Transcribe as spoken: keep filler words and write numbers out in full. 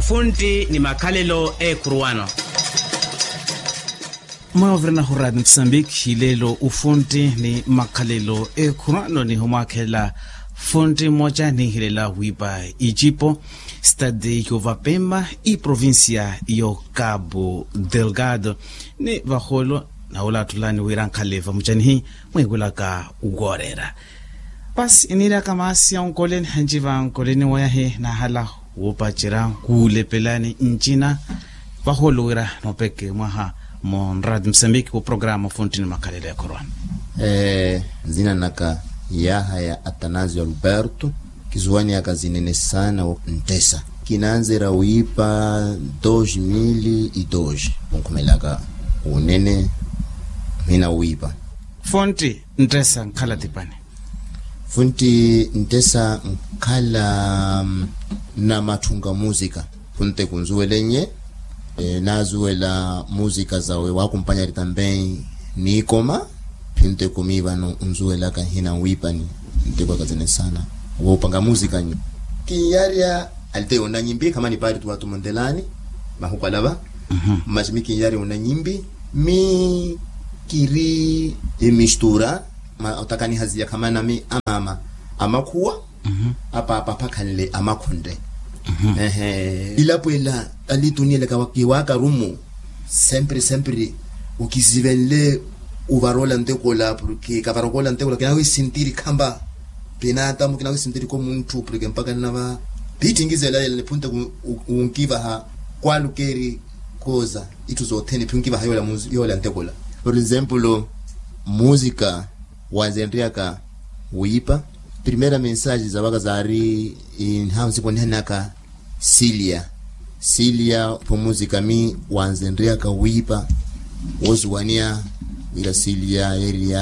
Funtti ni makhalelo eekhuruwano. Mwavirana huraati musambiki lelo ufuntti ni makhalelo eekhuruwano nihumwakhela funtti mmoca nihilela wiipa icipo stadi yovapemba iprovincia yo cabo delgado. Ni vaholo nawula atthulani wira nkhaleva mucanihi mwiikulaka woorera. Pasi iniiraka maasi ya onkoleni hanci va onkoleni wayahi nahala wuupacerya nkuulepelani ncina. Vaholo wira noopeke mwaha mu nrati musambiki wo programa funttini makhalelo ya khorwana. Nzina naka yahaya atanasio alberto. Kizuwaniyaka zinene saana wo nttesa. Kinanzerya wiipa dos mil e dos. Kunkhumelaka wunene mhina wiipa. Funtti nttesa nkhala tipani. Funtti nttesa nkhala na matthunka musika. Funtte kunzuwelennye. Naazuwela musika zawe wakumpanyari tambem niikoma. Funtte kumi vano nzuwelaka nhina wiipani. Ntteko akazene saana woopanga musika nyu. Kinyarya alite yonna nyimbi khamani paari tuwatumuntelani mahukwalava. Masi mi kinyarya yonna nyimbi mi kiri emistura. Otakaniha ziya khamanami amaama amakhuwa apaapa apakhanle amakhunre. Ilapo ela alituniyelaka kiwakarumu. Sempre sempre ukizivenle uvaroola ntekola porke kavarokola ntekola kinawisintiri khamba. Pinatamu kinawisintiri ko munthu porke mpaka nnava. Piittinki zela yela niphunte wunkivaha kwalukeeri koza itthu sothene phi unkivaha yoola ntekola. Por example musika wanzenryaka wiipa. Primera mensage zawaka zaari nhahu nsiponihani naka silia. Silia pho musika mi wanzenryaka wiipa. Wosuwaniya wira silia yeeriya